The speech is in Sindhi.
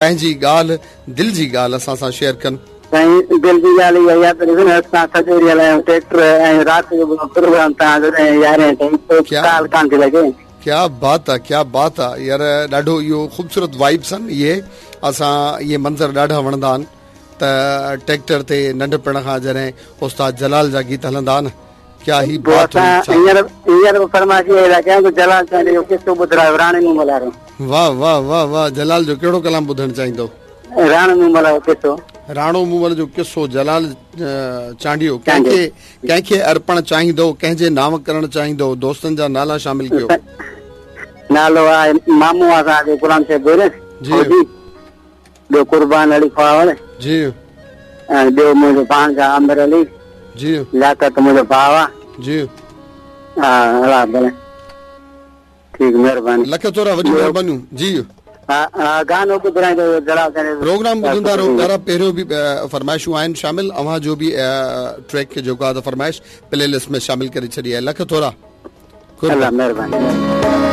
پنهنجي ڳالهه دل جي ڳالهه اسان سان شيئر ڪن. سائين دل جي ڳالهه اها ئي آهي ته ڏسو نه اسان سڄو ڏينهن هلايون ٽريڪٽر ۽ رات جو به پروگرام توهان جو ڏهين يارهين تائين پوء ڪال ڪانه ٿي لڳي. ڪيا بات آ ڪيا بات آ يار ڏاڍو اهو خوبصورت وائبس آهن اهي اسان اهي منظر ڏاڍا وڻندا آهن ته ٽريڪٽر تي ننڍپڻ کان جڏهن استاد جلال جا گيت هلندا آهن ڪيا هي پوء بات هئي اسان ڇا. هينئر هينئر به فرمائش اها ئي ٿا ڪيون ته جلال چانڊيي جو قصو ٻڌرايو راڻي مومل وارو. واه واه واه واه جلال جو ڪهڙو ڪلام ٻڌڻ چاهيندو. راڻو مومل وارو قصو. راڻو مومل جو قصو جلال چانڊيو ڪنهن کي ڪنهن کي ارپڻ چاهيندو ڪنهن جي نانء ڪرڻ چاهيندو دوستن جا نالا شامل ڪيو. نالو آهي مامو آ اسان جو غلام شبير جي. فوجي ٻيو قربان علي خواوڙ جي. ۽ ٻيو منهنجو ڀاڻج عامر علي جي. لياقت منهنجو ڀاء آ. جي. ها الله ڀلي. ٺيڪ مهرباني. لک ٿورا وڏيون مهربانيون جي. ها ها گانو ٻڌرائيندو جلال سائين. پروگرام ٻڌندا رهو پيارا پهريون به فرمائشون آهن شامل اوهان جو به ٽريڪ جيڪو آهي ته فرمائش پلي لسٽ ۾ شامل ڪري ڇڏي آهي لک ٿورا الله مهرباني.